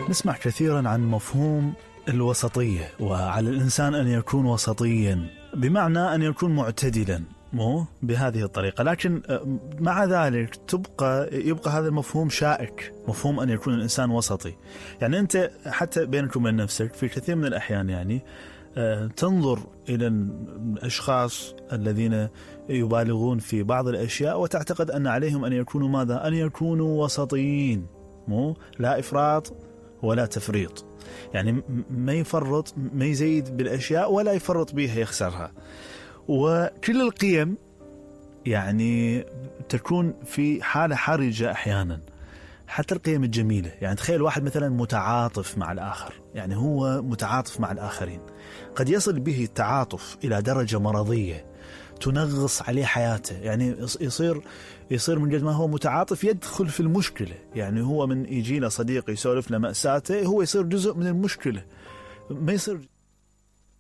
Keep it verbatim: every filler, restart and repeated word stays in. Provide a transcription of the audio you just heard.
نسمع كثيرا عن مفهوم الوسطية، وعلى الإنسان أن يكون وسطيا بمعنى أن يكون معتدلا، مو بهذه الطريقة، لكن مع ذلك تبقى يبقى هذا المفهوم شائك، مفهوم أن يكون الإنسان وسطي. يعني أنت حتى بينك وبين نفسك في كثير من الأحيان يعني تنظر إلى الأشخاص الذين يبالغون في بعض الأشياء وتعتقد أن عليهم أن يكونوا ماذا؟ أن يكونوا وسطيين، مو لا إفراط ولا تفريط، يعني ما يفرط ما يزيد بالأشياء ولا يفرط بها يخسرها. وكل القيم يعني تكون في حالة حرجة أحيانا، حتى القيم الجميلة. يعني تخيل واحد مثلا متعاطف مع الآخر، يعني هو متعاطف مع الآخرين، قد يصل به التعاطف إلى درجة مرضية تنغص عليه حياته، يعني يصير يصير من جد ما هو متعاطف يدخل في المشكلة. يعني هو من يجينا صديق يسولف له مأساته، هو يصير جزء من المشكلة، ما يصير